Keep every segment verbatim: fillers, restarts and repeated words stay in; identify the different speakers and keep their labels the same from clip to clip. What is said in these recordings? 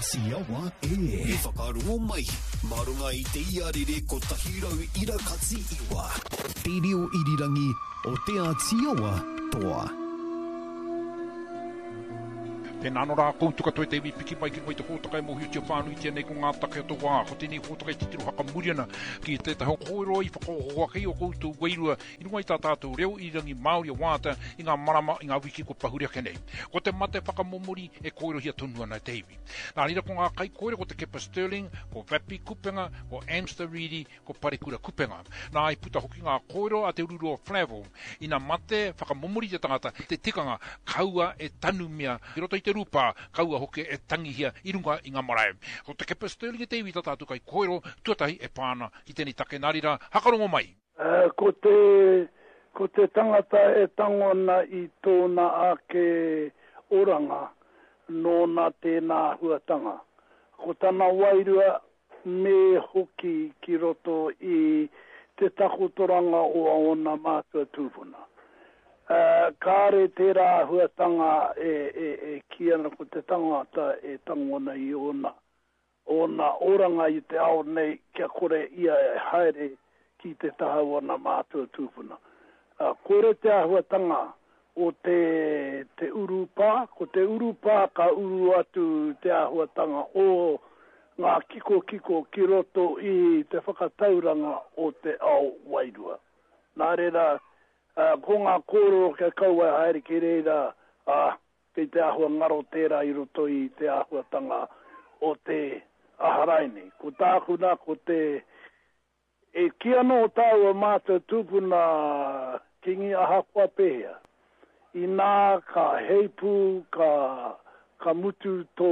Speaker 1: Āti Awa e.
Speaker 2: I whakarongo mai, mā runga i te iarere kotahi rau ira kati iwa.
Speaker 1: Te reo irirangi o Te Āti Awa toa.
Speaker 3: Tēnā anō rā koutou katoa e te iwi piki mai ki runga i te hōtaka e mōhiotia whānuitia nei ko ngā take o te wā. Ko tēnei hōtaka e titiro hakamuri ana ki tētahi o kōrero i whakaoho ake i o koutou wairua i runga i tā tātou reo irirangi Māori a Wāta i ngā marama, i ngā wiki kua pahure ake nei. Ko te mate whakamomori e kōrerohia tonu ana e te iwi. Nā reira ko ngā kaikōrero ko Te Kepa Stirling, ko Vappie Kupenga, ko Amster Reedy, ko Parekura Kupenga. Nā, i puta hoki ngā kōrero a Te Ururoa Flavell, ina mate whakamomori te tangata, te tikanga, kaua e tanumia ki roto i te rūpā, kaua hoki e tangihia i runga i ngā marae. Ko Te Kepa Stirling e te iwi tā tātou kaikōrero tuatahi e pā ana ki tēnei take, nā reira, hakarongo mai!
Speaker 4: Ko te, ko te tangata e tango ana i tōna ake oranga, nōna tēnā āhuatanga. Ko tana wairua me hoki ki roto i te takotoranga o ōna mātua tūpuna. Kāre tērā āhuatanga e, e, e kī ana ko te tangata e tango ana i ōna, ōna oranga i te ao nei kia kore ia e haere ki te taha o ana mātua tūpuna. Kore te āhuatanga o te, te urupā, ko te urupā ka uru atu te āhuatanga o ngā kikokiko ki roto i te whakatauranga o te ao wairua. Nā reira, ko ngā kōrero kia kaua e haere ki reira, ā, kei te āhua ngaro tērā i roto i te āhuatanga o te aha rainei. Ko tāku nā, ko te, e kī ana o tāua mātua tūpuna Kingi ahakoa pēhea, inā ka heipū, ka, ka mutu tō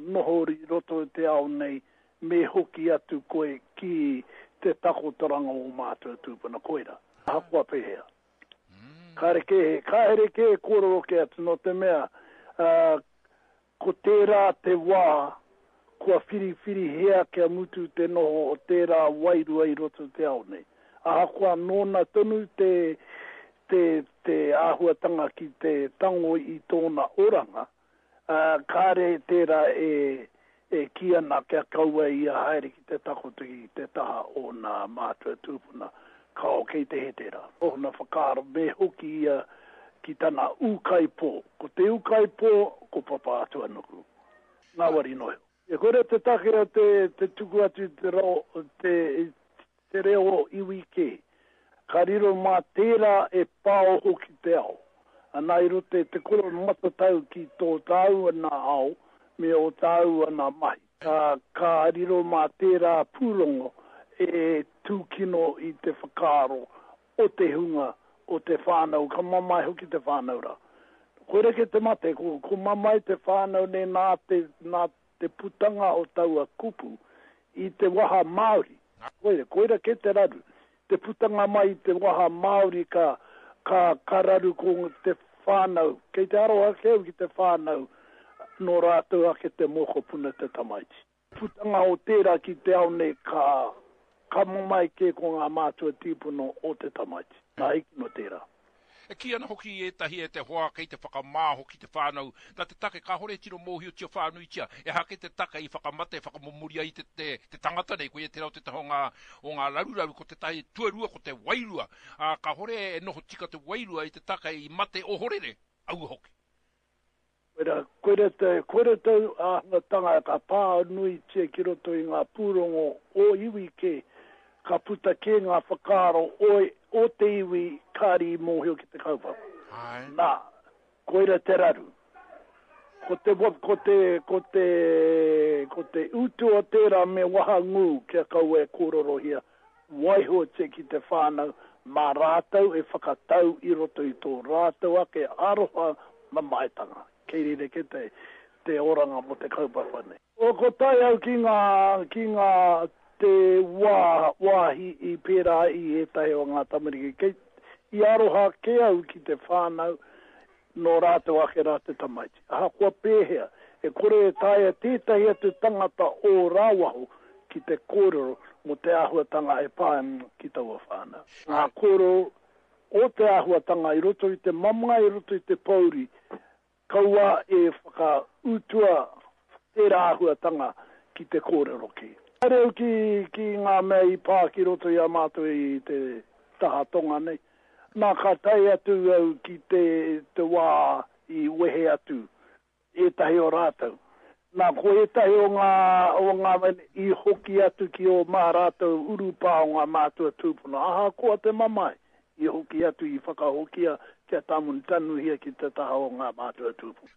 Speaker 4: noho i roto i te ao nei, me hoki atu koe ki te takotoranga o mātua tūpuna, koira, ahakoa pēhea. Kāre kē, kāre kē e kōrero kē atu, nō te mea, uh, ko tērā te wā kua whiriwhirihia kia mutu te noho o tērā wairua i roto i te ao nei. Ahakoa nōna tonu te, te, te āhuatanga ki te tango i tōna oranga, uh, kāre tērā e, e kī ana kia kaua ia haere ki te takoto ki te taha o nā mātua tūpuna. Kao kei te he tērā. Ōna whakaaro me hoki ia ki tana ūkaipō. Ko te ūkaipō, ko Papātuanuku. Ngāwari noa iho. E kore te take o te, te tuku atu i te, rao, te, te reo iwi kē. Ka riro mā tērā e pāoho ki te ao. Ana i roto i te kore matatau ki tō tāua nā ao me ō tāua nā mahi. Ka, ka riro mā tērā pūrongo e tūkino i te whakaaro o te hunga, o te whānau, ka mamae hoki te whānau rā. Koira kē te mate, ko, ko mamae te whānau nei nā te, nā te putanga o taua kupu i te waha Māori. Koira, koira kē te raru. Te putanga mai i te waha Māori ka, ka, ka raru ko te whānau. Kei te aroha kē au ki te whānau nō rātou ake te mokopuna te tamaiti. Putanga o tērā ki te ao nei ka, ka mamae kē ko ngā mātua tīpuna o te tamaiti. Nā hiki no tērā.
Speaker 3: E kī ana hoki ētahi e te hoa kei te whakamā hoki te whānau, nā te take kāhore e tino mōhiotia whānuitia, ehake te take i whakamate, whakamomori ai te, te, te tangata nei, koia tērā o tētahi o ngā, o ngā raruraru, ko tētahi tuarua ko te wairua, ā, kāhore e noho tika te wairua i te take i mate ohorere, aua hoki.
Speaker 4: Koira, koira te, koira te āhuatanga ka pā nuitia ki roto i ngā pūrongo o iwi kē, ka puta kē ngā whakaaro o, o te iwi kāri i mōhio ki te kaupapa.
Speaker 3: Āe.
Speaker 4: Nā, koira te raru. Ko te, ko te, ko te, ko te utu o tērā me wahangū kia kaua e kōrorohia, waihotia ki te whānau mā rātou e whakatau i roto i tō rātou ake aroha mamaetanga. Kei reira kē te, te oranga mō te kaupapa nei. O, ko tae au ki ngā, ki ngā, te wā, wāhi i pērā i ētahi o ngā tamariki. Kei, i aroha kē au ki te whānau nō rātou ake rā te tamaiti. Ahakoa pēhea, e kore e taea tētahi atu tangata o rāwaho ki te kōrero mō te āhuatanga e pā ana ki taua whānau. Ngā kōrero o te āhuatanga i roto i te mamae, i roto i te pōuri, kaua e whakautua Tērā āhuatanga ki te kōrero ki. Haere au ki, ki ngā mea i pā ki roto i a mātou i te taha tonga nei. Nā, ka tae atu au ki te, te wā i wehe atu ētahi o rātou. Nā, ko ētahi o ngā, o ngā mea i hoki atu ki ō mā rātou urupā o ngā mātua tūpuna, ahakoa te mamae, i hoki atu, i whakahokia kia tanuhia ki te taha o ngā mātua tūpuna.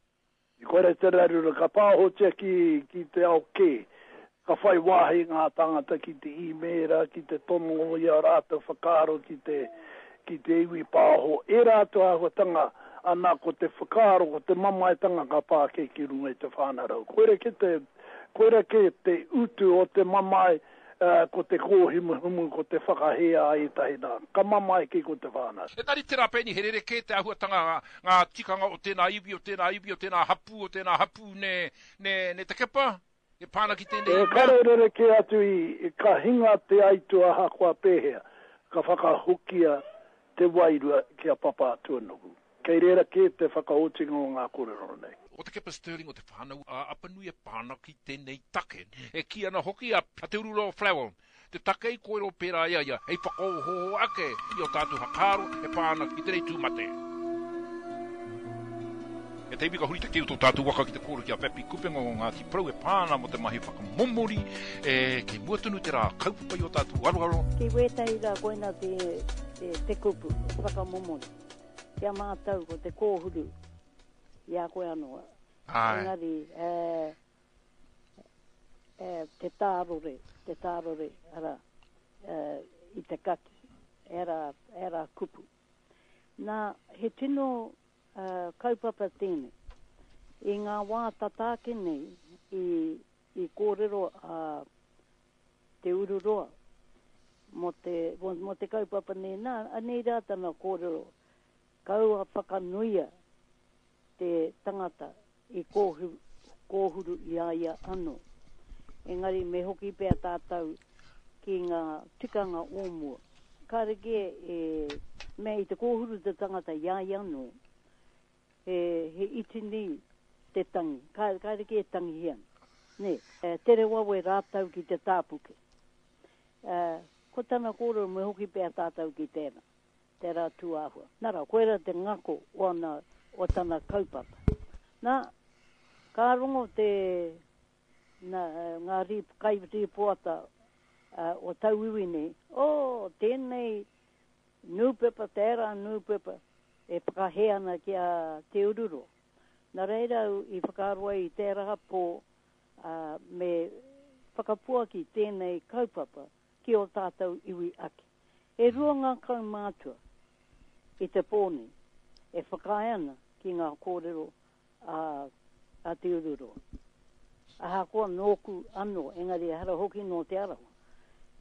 Speaker 4: I kore te raruraru ka pāhotia ki, ki te ao kē, ka whai wāhi ngā tāngata ki te īmēra, ki te tono i ā rātou whakaaro ki te, ki te iwi pāho, ērā atu āhuatanga, ana ko te whakaaro, ko te mamaetanga ka pā kē ki runga i te whānau. Koira kē te, koira kē te utu o te mamae, uh, ko te kōhimuhimu, ko te whakahē a ētahi nā. Ka mamae kē ko te whānau.
Speaker 3: Engari tērā pēni he rerekē te āhuatanga, ngā tikanga o tēnā iwi, o tēnā iwi, o tēnā hapū, o tēnā hapū, ne, ne, ne te kepa? E pā ana ki tēnei
Speaker 4: E
Speaker 3: mea?
Speaker 4: kare rerekē atu i, ka hinga te aituā ahakoa pēhea, ka whakahokia te wairua ki a Papatūānuku. Kei reira kē te whakaotinga o ngā kōrero nei.
Speaker 3: O te Kepa Stirling o te whānau a Apanui e pā ana ki tēnei take. E kī ana hoki a Te Ururoa Flavell, te take i kōrero pērā i a ia, hei whakaohooho ake i ō tātou whakaaro e pā ana ki tēnei tū mate. E te iwi ka huri te keu tō tātou waka ki te kōrero ki a Pepi Kupenga o Ngāti Porou e pā ana mō te mahi whakamomori, e kei mua tonu te rā kaupapa i ō tātou aroaro.
Speaker 5: Ki wētahi rā koina te, te, te kupu, whakamomori. Ki a mātou ko te kōhuru i a koe anō.
Speaker 3: Āe.
Speaker 5: Engari, e, e, te tārore, te tārore, ara, e, i te kaki, era, era kupu. Nā, he tino uh, kaupapa tēnei. I ngā wā tata ake nei, i, i kōrero a Te Ururoa mō te, mō, mō te kaupapa nei, nā, anei rā tana kōrero, kaua whakanuia te tangata i kōhuru, kōhuru i a ia anō. Engari me hoki pea tātou ki ngā tikanga o mua. Kāre kē e mea i te kōhuru te tangata i a ia anō, he, he iti nei te tangi, kāre, kāre kē e tangihia ana. Nē, e, tere wawe rātou ki te tāpuke. E, ko tana kōrero me hoki pea tātou ki tēnā, tērā tūāhua. Nā rā, koira te ngako o, ana, o tana kaupapa. Nā, ka rongo te na, ngā rīp, kai rīpoata uh, o tauiwi nei, o, tēnei nūpepa, tērā nūpepa, e whakahē ana ki a Te Ururoa. Nā reira au i whakaaro ai i tērā pō, uh, me whakapuaki tēnei kaupapa ki o tātou iwi ake. E rua ngā kaumātua i te pō nei e whakaae ana ki ngā kōrero a, a Te Ururoa. Ahakoa nōku anō, engari ehara hoki nō Te Arawa.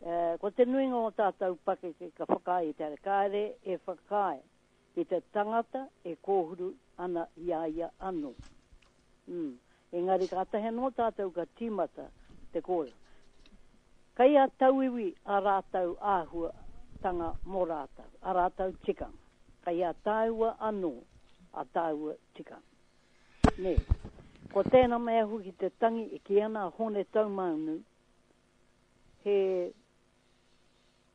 Speaker 5: E, ko te nuinga o tātou pakeke ka whakaae i te ara. Kāre e whakaae ki te tangata e kōhuru ana i a ia anō. Mm. Engari kātahi anō tātou ka tīmata te kōrero. Kei a tauiwi a rātou āhuatanga mō rātou, a rātou tikanga. Kei a tāua anō a tāua tikanga. Nē. Ko tēnā mea hoki te tangi e kī ana a Hone Taumaunu, he,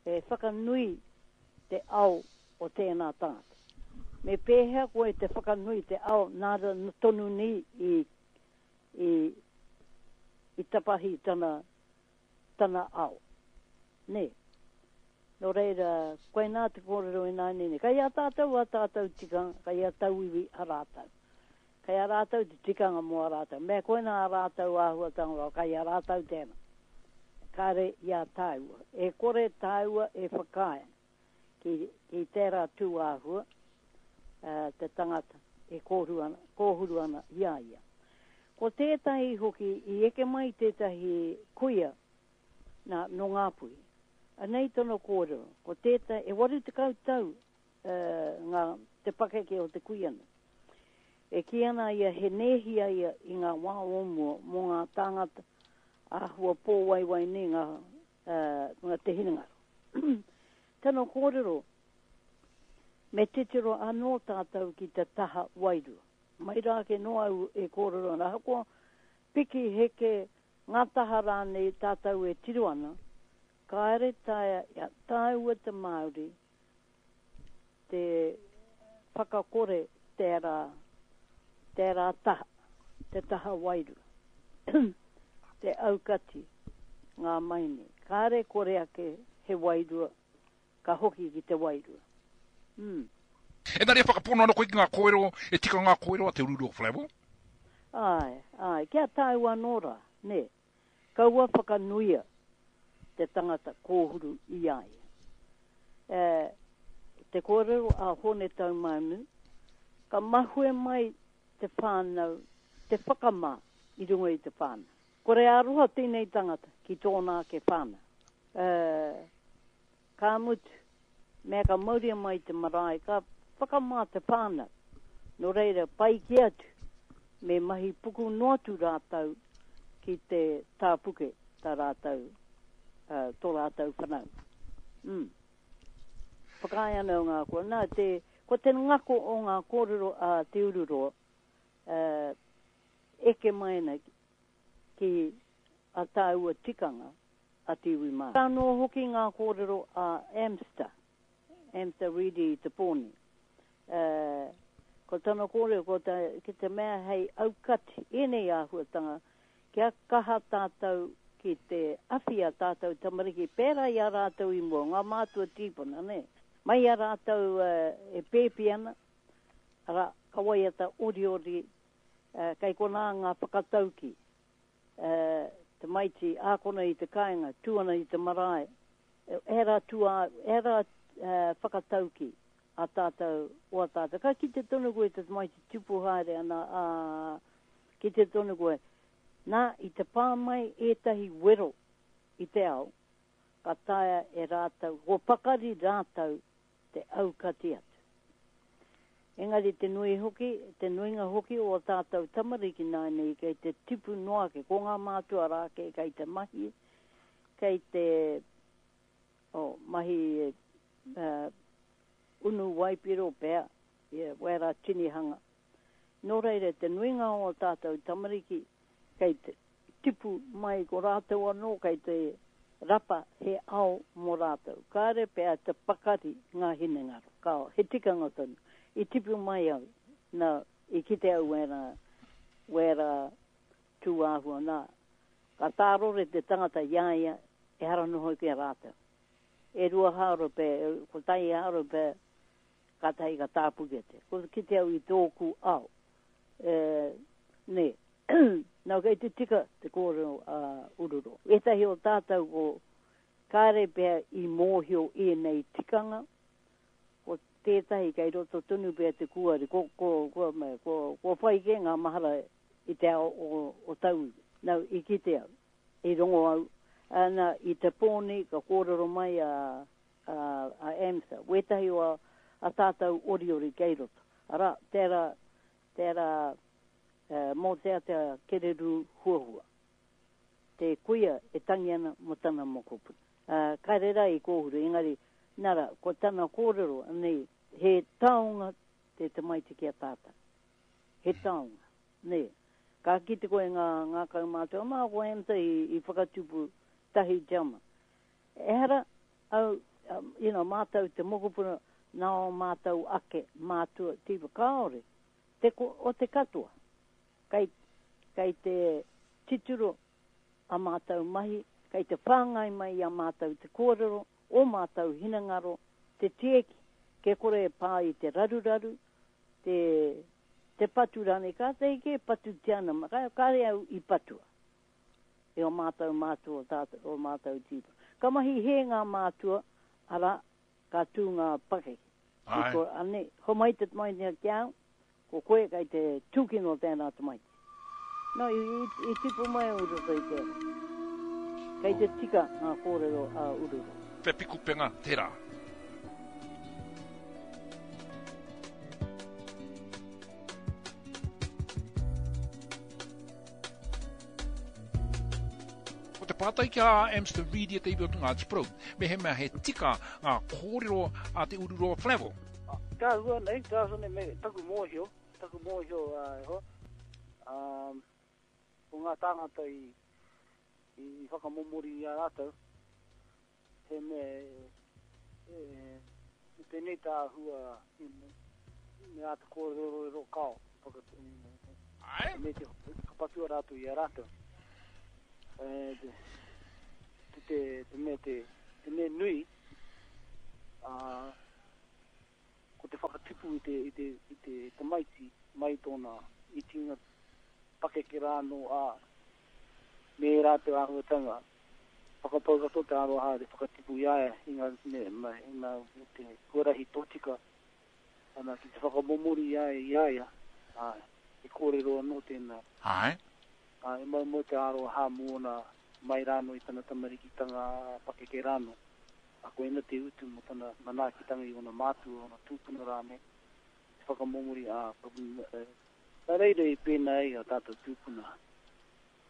Speaker 5: he whakanui te ao o tēnā tangata. Me pēhea koe te whakanui te ao nā tonu nei i, i, i tapahi tana, tana ao. Nē. Nō reira, koinā te kōrero ināianei nei. Kei a tātou a tātou tikanga, kei a tauiwi a rātou. Kei a rātou te tikanga mō a rātou. Me koina a rātou āhuatanga, kei a rātou tēnā. Kāre i a tāua. E kore tāua e whakaae ki, ki tērā tū āhua, uh, te tangata e kōhuru ana, kōhuru ana i a ia. Ko tētahi hoki, i eke mai tētahi kuia nā, nō Ngāpuhi. Anei tana kōrero, ko tētahi, e waru tekau tau uh, ngā, te pakeke o te kuia nei. E kī ana ia he nēhi a ia i ngā wā o mua mō ngā tāngata āhua pōwaiwai nei ngā, uh, ngā te hinengaro. Tana kōrero, me titiro anō tātou ki te taha wairua. Mai rā ke noa au e kōrero ana, ahakoa Piki heke ngā taha rānei tātou e tiro ana, kāre taea ia tāua te Māori te whakakore tērā, tērā taha, te taha wairua, te aukati ngā maini. Kāre kore ake he wairua, ka hoki ki te wairua. Mm.
Speaker 3: Engari e whakapono ana koe ki ngā kōrero, e tika ngā kōrero a Te Ururoa Flavell?
Speaker 5: Āe, āe, kia tāua anō rā, nē. Kaua whakanuia te tangata kōhuru i a ia. E, te kōrero a Hone Taumaunu, ka mahue mai te whānau, te whakamā i runga i te whānau. Kore aroha tēnei tangata ki tōna ake whānau. E, ka mutu, mea ka mauria mai te marae, ka whakamā te whānau. Nō reira, pai ki atu, me mahi puku noa atu rātou ki te tāpuke tā rātou, uh, tō rātou whanaunga. Mm. Whakaae ana o ngā kōrero. Nā, te, ko te ngako o ngā kōrero a Te Ururoa, uh, eke mai ana ki a tāua tikanga a te iwi Māori. Ka anō hoki ngā kōrero a Amster, Amster Reedy i te pōni. Uh, ko tana kōrero, ko ta, ki te mea hei aukati ēnei āhuatanga, kia kaha tātou ki te awhi a tātou tamariki, pērā i a rātou i mua, ngā mātua tīpuna, ne? Mai a rātou uh, e pēpi ana, ara, ka waiata oriori, uh, kei konā ngā whakatauki, uh, te maiti ākona i te kāinga, tū ana i te marae, era tua, era uh, whakatauki a tātou, o a tātou. Ka kite tonu koe te maiti tupu haere ana, a, kite tonu koe. Nā, i te pā mai ētahi wero i te ao, ka taea e rātou, ko pakari rātou te aukati atu. Engari te nui hoki, te nuinga hoki o tātou tamariki nāianei kei te tipu noa ake, ko ngā mātua rā kei, kei te mahi, kei te oh, mahi uh, unu waipiro pea, ia, wera tinihanga. Nō reira, te nuinga o tātou tamariki kei te tipu mai ko rātou anō kei te rapa he ao mō rātou. Kāre pea te pakari ngā hinengaro. Kao, he tikanga tonu. I tipu mai au, nā, i kite au wera, wera tūāhua nā. Ka tārore te tangata i a ia, e hara noho ki a rātou. E rua hāro pe, ko tai hāro pe, kātahi ka tāpuke te. Ko kite au i tōku ao. E, nē. Nā, kei te tika te kōrero a Ururoa. Ētahi o tātou ko kāre pea i mōhio ēnei tikanga, ko tētahi kei roto tonu pea te kuari, ko, ko, ko, ko, ko whai kē ngā mahara i te ao o, o tauiwi. Nā, i kite au, i rongo au, ana, i te pōni ka kōrero mai a, a, a Amsa, wētahi o a, a tātou oriori kei roto. Ara, tērā, tērā, uh, mō te atea kereru huahua. Te kuia e tangi ana mō tana mokopuna. Uh, kāre rā i kōhuru, engari, nara, ko tana kōrero, nei, he taonga te tamaiti ki a tātou. He taonga, nei. Ka kite koe ngā, ngā kaumātua, mā ko Amsa i, i whakatupu tahi jama. Ehara, au, um, you know, mātou te mokopuna, nā o mātou ake, mātua, tīpa, kāore, te, ko, o te katoa. Kei, kei te titiro a mātou mahi, kei te whāngai mai a mātou te kōrero, o mātou hinengaro, te tieki, ke kore e pā i te raruraru, te, te patu rānei, kātahi ke patu te ana, ka, kāre au i patua. E o mātou mātua, tātou, o mātou tīpa. Ka mahi he ngā mātua, ara, ka tū ngā pakeke.
Speaker 3: Ai.
Speaker 5: Ko, ane, homai te tamaiti ki au, ko koe kei te tūkino tēnā tamaiti. No, i, i, i tipu mai au roto i tērā. Kei te tika ngā kōrero a Ururoa.
Speaker 3: Pepi kupenga tērā. Ko te pātai ki a Amster Reedy e te iwi o te Ngāti Porou, me he mea he tika ngā kōrero a Te Ururoa Flavell.
Speaker 4: Ka hua nei, ka hua nei, me taku mōhio, taku mōhio uh, e hoa. Um,
Speaker 6: Ko ngā tāngata i, i whakamomori i a rātou, he mea e, e, tēnei tā hua me āta kōrerorero kao. Whaka,
Speaker 3: Ai?
Speaker 6: Me te kapatua rātou i a rātou. E, te, te, te, te mea te, te mea nui, ā, ko te whakatipu i te, i te, i te tamaiti mai tōna itinga pakeke rā anō, ā, me rātou āhuatanga. Whakapau katoa te aroha te whakatipu i a ia i ngā, me, me, i ngā, te huarahi tōtika, ana ki te whakamomori i a ia, i a ia, ā, he kōrero anō tēnā.
Speaker 3: Ai?
Speaker 6: Ā, e maumau te aroha mōna mai rānō i tana tamarikitanga pakeke rānō. A koina te utu mō tana manaakitanga i ōna mātua, ōna tūpuna rānei, te whakamomori, ā, nā reira i pēnā ai a tātou tūpuna.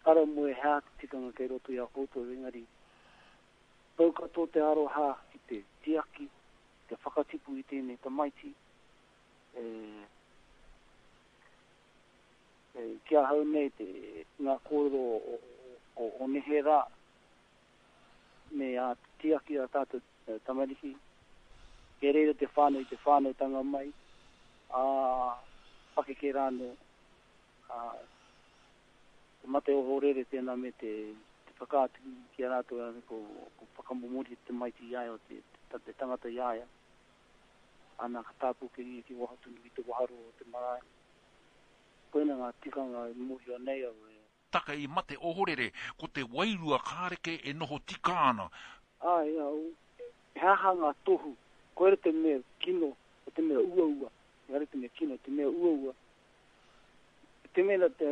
Speaker 6: Ara moe hea te tikanga kei roto i a koutou, engari, pau katoa te aroha ki te tiaki, te whakatipu i tēnei tamaiti, e, e, ki ahau nei te, ngā kōrero o, o, o nehe rā, me a tiaki a tātou tamariki, kei reira te whānau i te whānautanga mai, a pakeke rānō, a, te mate ohorere tēnā me te, te whakaatu ki a rātou rānei ko, ko whakamomori te tamaiti i a ia, te, te, te tangata i a ia. Ana ka tāpuke ia ki waho tonu i te waharo o te marae. Koina ngā tikanga e mōhio nei au e.
Speaker 3: Taka i mate ohorere, ko te wairua kāreke e noho tika ana.
Speaker 6: Ai, au, he aha ngā tohu, koera te mea kino, o te mea uaua, ehara te mea kino, te mea uaua. Te mea te,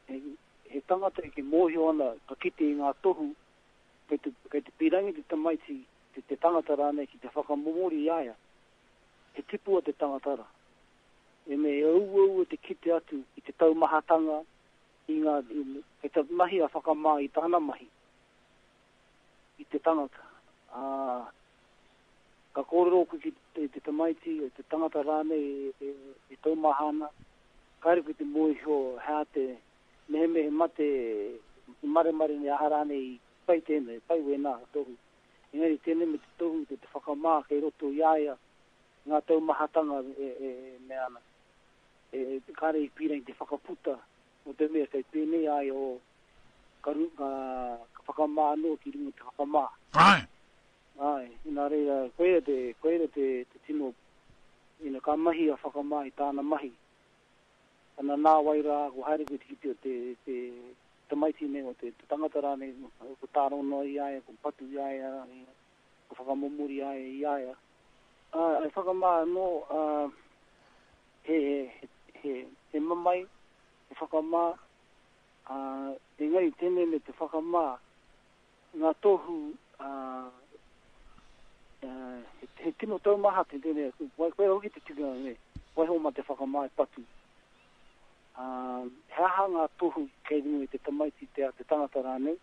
Speaker 6: he, he tangata e ke mōhio ana, ka kite i ngā tohu, kei te, kei te pīrangi te tamaiti, te, te tangata rānei ki te whakamomori i a ia. He tipua te tangata rā. E me e uaua te kite atu i te taumahatanga, i ngā, i, kei te mahi a whakamā i tāna mahi, i te tangata. Ā, ka kōrero koe ki te, te tamaiti, te tangata rānei e, e, e taumaha ana, kāre koe te mōhio hea te mehemehe mate i maremare nei aha rānei i pai tēnei, pai wēnā tohu. Engari tēnei me te tohu te, te whakamā kei roto i a ia ngā taumahatanga e, e, e mea ana. E, e, kāre i pīrangi te whakaputa o te mea kei pēnei ai o ka, ru, ka, ka whakamā anō ki runga te whakamā.
Speaker 3: Ai?
Speaker 6: Ai, nā reira, koia te, koia te, te tino, ina ka mahi a whakamā i tāna mahi. Ana nā wai rā, ko haere koe te kite o te, te tamaiti nei, o te, te tangata rānei, ko tārono i a ia, ko patu i a ia, ko whakamomori i a ia, i a ia. Ā, ai whakamā anō, ā, he, he, he, he mamae, he whakamā, ā, engari tēnei me te whakamā, ngā tohu, ā, ā, he, he tino taumaha te tēnei, wai koe hoki te tikanga nei, waiho mā te whakamā e patu. Ā, he aha ngā tohu kei runga i te tamaiti te, te tangata rānei,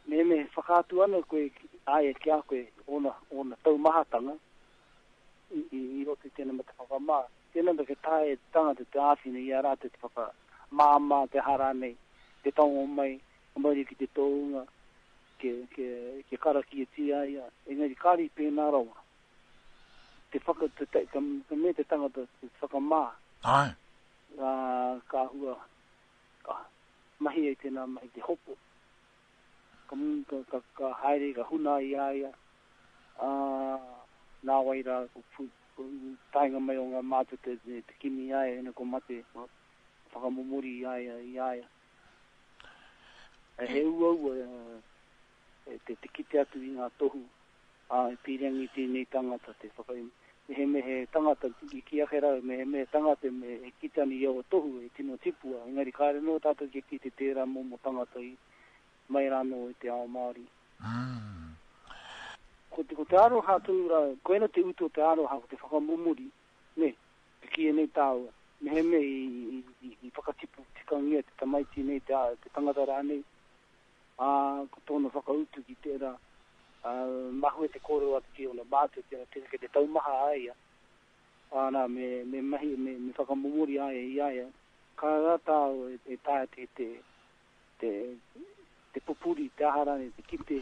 Speaker 6: me me whakaatu ana koe a ia ki a koe ōna, ōna taumahatanga i, i, i roto i tēnei me te whakamā. Tēnei me ke tae te tangata te āwhina i a rātou te whakamāmā te aha rānei, te tango mai, ka mauri ki te tōunga, ke, ke, ke karakiatia ia, engari kāre i pēnā rawa. Te whaka, te, te, ka, ka me te tangata te whakamā.
Speaker 3: Ai.
Speaker 6: Ā, ka hua, ka mahi ai tēnā mahi te hopo. Ka, ka, ka, ka haere, ka huna i a ia, ā, nā wai rā, ko pu, ko taenga mai o ngā mātua te, te, te kimi i a ia, ina ko mate, ko whakamomori i a ia, i a ia. E he uaua, e, te, te kite atu i ngā tohu, ā, e pīrangi tēnei tangata, te whaka, me he me he tangata, i ki ake rā, me he me he tangata, me e kite ana i aua tohu, e tino tipua, engari kāre noa tātou kia kite tērā momo tangata i mai rānō i te ao Māori.
Speaker 3: Mm.
Speaker 6: Ko te, ko te aroha tonu rā, koina te utu o te aroha, ko te whakamomori, ne, te kīia nei tāua, me he me i, i, i, i whakatipu tikangia te tamaiti nei, te, te tangata rānei, ā, ko tōna whakautu ki tērā, ā, mahue te kōrero atu ki ōna mātua, tērā, tērā kei te taumaha a ia, ā, nā, me, me mahi, me, me whakamomori a ia i a ia, ka rā tāua e, e taea te, te, te, te pupuri, te aha rānei, te kite,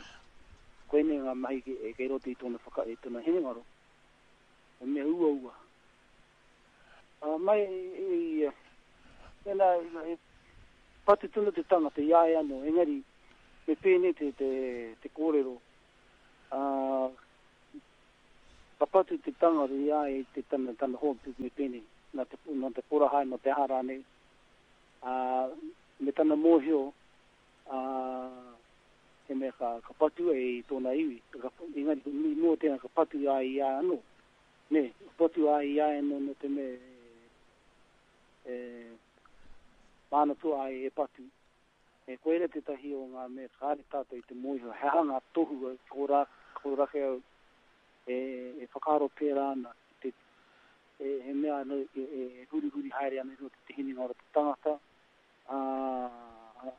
Speaker 6: koinei ngā mahi e kei roto i tōna whaka, i tōna hinengaro. He mea uaua. Uh, mai i, i, i, patu tonu te tangata i a ia anō, engari me pēnei te, te, te kōrero. Uh, ka patu te tangata i a ia te tana, tana hoa me pēnei, nā te, nā te porahai, nā te aha rānei. Uh, me tana mōhio, uh, he mea ka, ka patu e i tōna iwi. Ka, engari, i mua tēnā ka patu i a ia anō. Ne, ka patu a ia anō no te mea e, māna tua ai e patu. E koera tētahi o ngā mea kāre tātou i te mōhio, he aha ngā tohu ko rā, ko rake au e, e whakaaro pērā ana, te, e, he mea anō, e, e hurihuri haere ana i roto te hinengaro te tangata, ā,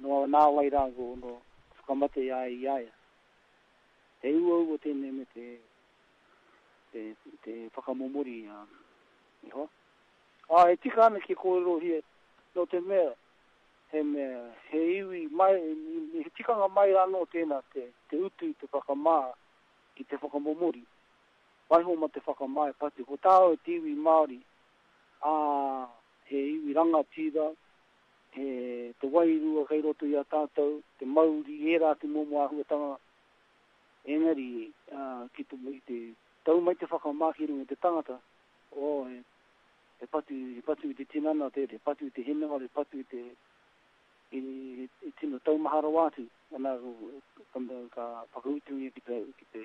Speaker 6: no nā wai rā ko no whakamate i a ia i a ia. He uaua tēnei me te, te, te whakamomori uh, i hoa. Ā, e tika ana ki kōrerohia, no te mea, he mea, he iwi mai, he tikanga mai rānō tēnā te, te utu i te whakamā ki te whakamomori. Waiho ma te whakamā e patu. Ko tāu te iwi Māori, ā, he iwi rangatira, he te wairua kei roto i a tātou, te mauri, ērā te momo āhuatanga. Engari, uh, ki te, i te tau mai te whakamā ki runga i te tangata, oh, he, he patu, he patu i te tinana, te, he patu i te hinengaro, he patu i te i, i, i tino taumaha rawa atu. Ana, ka, ka whakautungia ki te, ki te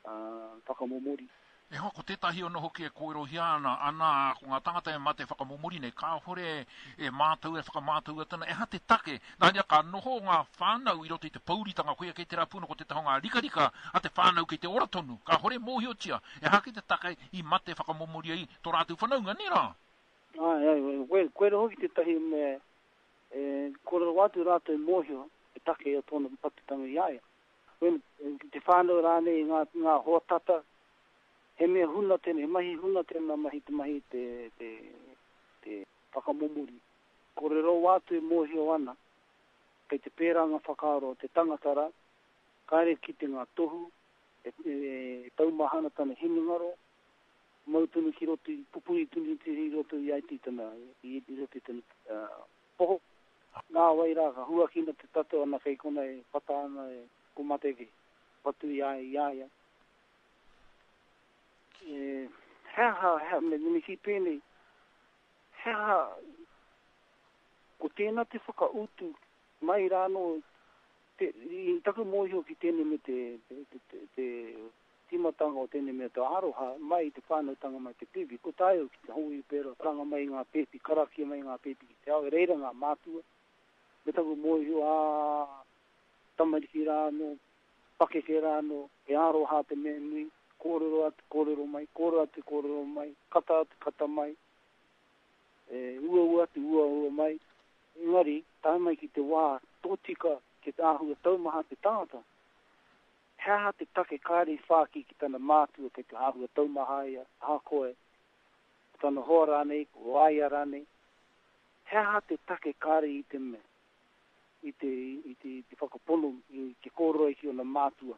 Speaker 6: uh, whakamomori.
Speaker 3: E hoa, ko tētahi ono hoki e kōrerohia ana, ana, ko ngā tangata e mate whakamomori nei, kāhore e mātau, e whakamātau atana, e ha te take, nā rea ka noho ngā whānau i roto i te pouritanga, koia kei te rā pūna ko te taho ngā rikarika a te whānau kei te ora tonu, kāhore mōhiotia, e ha ki te take i mate whakamomori ai tō rātou whanaunga, nē rā?
Speaker 6: Ai, ai, koe, koe hoki tētahi me e, kore rawa atu rātou mōhio e take o tōna patutanga i a ia. Koe, te whānau rānei ngā, ngā hoa tata, he mea huna tēnei, he mahi huna tēnā mahi te mahi te, te, te whakamomori. Kore rawa atu e mōhio ana, kei te pērā ngā whakaaro o te tangata rā, kāre ki te ngā tohu, e, e, e taumaha ana tana hinengaro, mau tonu ki roto, pupuri tonu i roto i ai tana, i, i roto i tana uh, poho. Nā wai rā, ka huakina te tato ana kei kona e pata ana e ko mate ke patu i a i a ia. E, he aha, he, me, me ki pēnei, he aha, ko tēnā te whakautu mai rānō, te, i taku mōhio ki tēnei me te, te, te, te, te tīmatanga o tēnei mea te aroha mai te whānautanga mai te pēpi. Ko tāu ki te hoi pēra, karanga mai ngā pēpi, karakia mai ngā pēpi ki te ao, e reira ngā mātua. Me taku mōhio, ā, tamariki rānō, pakeke rānō, e aroha te mea nui, kōrero atu, kōrero mai, kōrero atu, kōrero mai, kata atu, kata mai, e, uaua atu, uaua mai. Engari, tae mai ki te wā tōtika ki te āhua taumaha te tangata. He aha te take kāre i whāki ki tana mātua kei te āhua taumaha ia, ahakoa e, ko tana hoa rānei, ko aia rānei. He aha te take kāre i te mea, i te, i te, i te whakapono, i te kōrero ai ki ona mātua.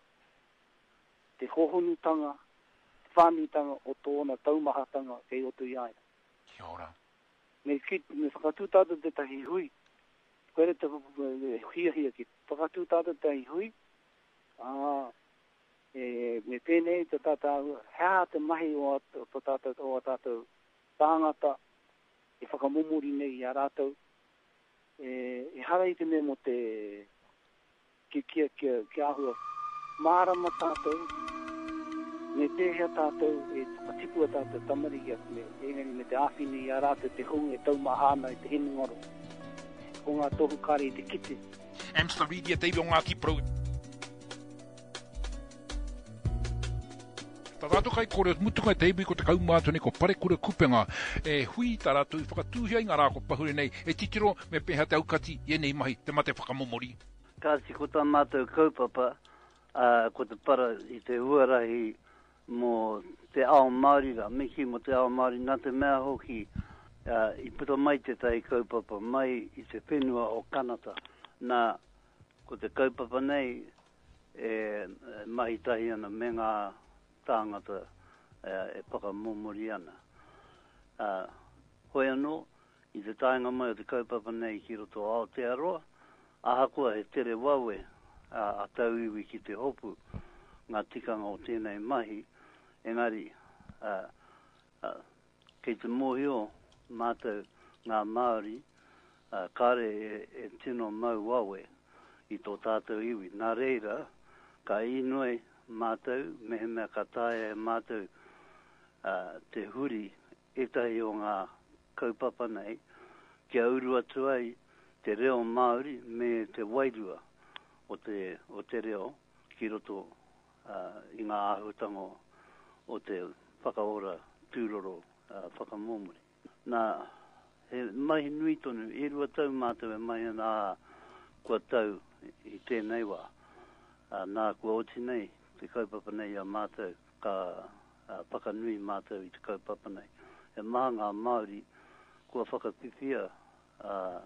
Speaker 6: Te hohonutanga, te whānuitanga o tōna taumahatanga kei roto i a ia.
Speaker 3: Kia ora.
Speaker 6: Me, ki, me whakatū tātou tētahi hui, koe te hiahia ki whakatū tātou tētahi hui, ā, e, me pēnei te tātou, he aha te mahi o, o, o tātou, o tātou tāngata e whakamomori nei i a rātou, e, e hara i te mea mō te ki, ki, ki, ki āhua mārama tātou, me pēhea tātou e whakatipua tātou tamariki me, engari me te āwhina i a rātou te hunga e taumaha ana i te hinengaro. Ko ngā tohu kāre i te kite.
Speaker 3: Amster Reid te iwi o Ngāti Porou. Tā tātou kai kore mutunga te iwi ko te kaumātua nei ko Parekura Kupenga. E hui tā rātou i whakatūhia i ngā rā ko pahure nei e titiro me pēhea te aukati i ēnei mahi te mate whakamomori.
Speaker 7: Kāti ko tā mātou kaupapa, uh, ko te para i te huarahi mō te ao Māori rā, me ki mō te ao Māori, nā te mea hoki uh, i puta mai tētahi kaupapa mai i te whenua o Kanata. Nā, ko te kaupapa nei e mahi tahi ana me ngā tāngata e whakamomori ana. Hoi anō, i te taenga mai o te kaupapa nei ki roto Aotearoa, ahakoa he tere wawe a tauiwi ki te hopu ngā tikanga o tēnei mahi, engari kei te mōhio mātou ngā Māori kāre e tino mau wawe i tō tātou iwi. Nā reira, ka inoi mātou, mehemea ka taea e mātou te huri ētahi o ngā kaupapa nei, kia uru atu ai te reo Māori me te wairua o te, o te reo ki roto uh, i ngā āhuatanga o te whakaora tūroro uh, whakamomori. Nā, he mahi nui tonu, e rua tau mātou e mahi ana ā, kua tau i tēnei wā. Uh, nā, kua oti nei te kaupapa nei a mātou, ka uh, whakanui mātou i te kaupapa nei. He maha ngā Māori kua whakawhiwhia uh,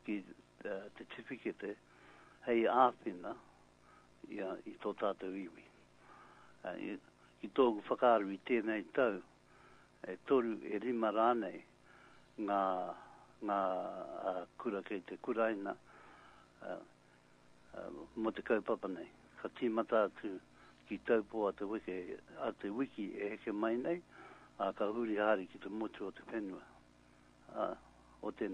Speaker 7: ki uh, te tiwhikete hei āwhina i, uh, i tō tātou iwi. Uh, i, ki tōku whakaaro i tēnei tau, e toru e rima rānei ngā, ngā uh, kura kei te kuraina uh, uh, mō te kaupapa nei. Ka tīmata atu ki Taupo a te wiki, a te wiki e heke mai nei, a ka huri haere ki te motu o te whenua. Uh, o te...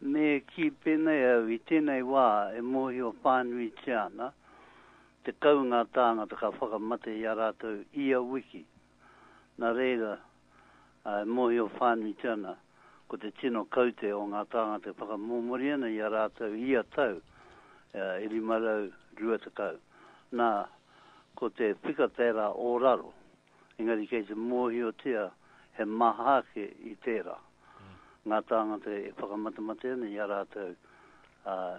Speaker 7: Me ki pēnei au i tēnei wā e mōhio whānuitia ana, te kau ngā tāngata ka whakamate i a rātou ia wiki. Nā reira, e mōhio whānuitia ana, ko te tino kaute o ngā tāngata e whakamomori ana i a rātou ia tau, e rima rau rua tekau. Nā, ko te pika tērā o raro, engari kei te mōhiotia he maha ake i tērā. Ngā tāngata e whakamatemate ana i a rātou uh,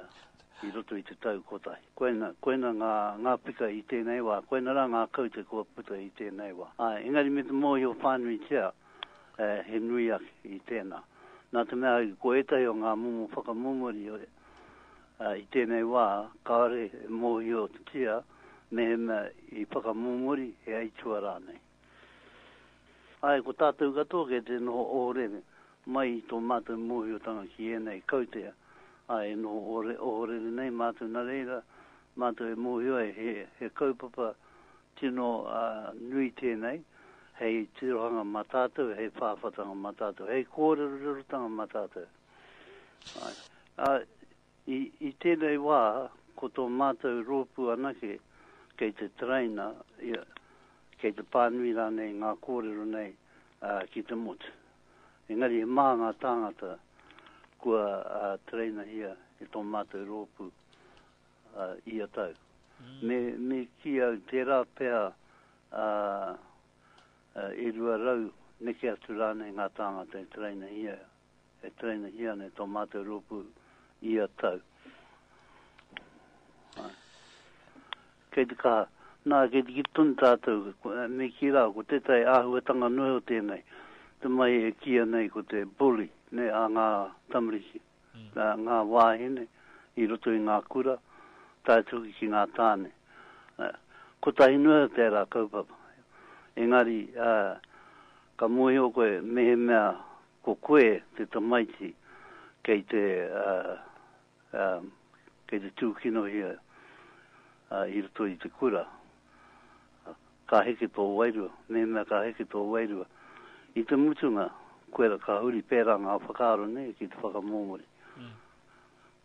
Speaker 7: i roto i te tau kotahi. Koina, koina ngā, ngā pika i tēnei wā, koina rā ngā kaute kua puta i tēnei wā. Ai, engari me te mōhio whānuitia eh, he nui ake i tēnā. Nā te mea, ko ētahi o ngā momo whakamomori uh, i tēnei wā, kāore e mōhiotia mehemea i whakamomori he aitua rānei. Ai, ko tātou katoa kei te noho ohorere mai i tō mātou mōhiotanga ki ēnei kautea. Ai, e noho ohorere nei mātou nā reira, mātou e mōhio ai he, he kaupapa tino uh, nui tēnei, hei tirohanga mā tātou, hei whāwhatanga mā tātou, hei kōrerorerotanga mā tātou. Ai, uh, i, i tēnei wā, ko tō mātou rōpū anake kei te tereina, ia, kei te pānui rānei ngā kōrero nei uh, ki te motu. Engari he maha ngā tāngata kua uh, tereinahia e tō mātou rōpū uh, ia tau. Mm. Me, me ki au tērā pea uh, uh, e rua rau neke atu rānei ngā tāngata e tereinahia, e tereinahia nei tō mātou rōpū ia tau. Ai. Kei te kaha, nā, kei te ki tonu tātou, me ki rā, ko tētahi āhuatanga noe o tēnei, te mai e kia nei ko te bully, ne, a ngā tamariki, mm. a ngā wāhine i roto i ngā kura, tae atu ki ngā tāne. Kotahi noa tērā kaupapa. Engari, uh, ka mōhio koe mehemea ko koe te tamaiti kei te, uh, uh, kei te tūkinohia uh, i roto i te kura. Ka heke tō wairua, mehemea ka heke tō wairua. I te mutunga, koera ka huri pērā ngā whakaaro nei ki te whakamomori. Mm.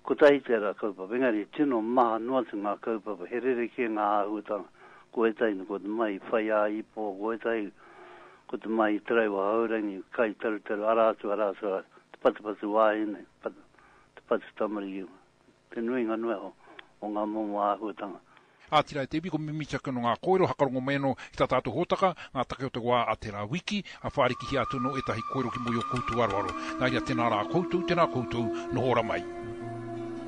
Speaker 7: Kotahi tērā kaupapa, engari tino maha noa atu ngā kaupapa, he rerekē ngā āhuatanga. Ko ētahi ko te mahi whai ā-ipo, ko ētahi ko te mahi taraiwa haurangi, kai tarutaru, arā atu, arā atu, arā, te patupatu wāhine, pat, te patu tamariki, te nuinga noa o, o ngā momo āhuatanga.
Speaker 3: Ātira e te iwi, ko mimiti ake no ngā kōrero, hakarongo mai anō ki tā tātou hōtaka, ngā take o te wā a tērā wiki, a whārikihia atu no ētahi kōrero ki moi o koutou aroaro. Nā ia tēnā rā koutou, tēnā koutou, noho ora mai.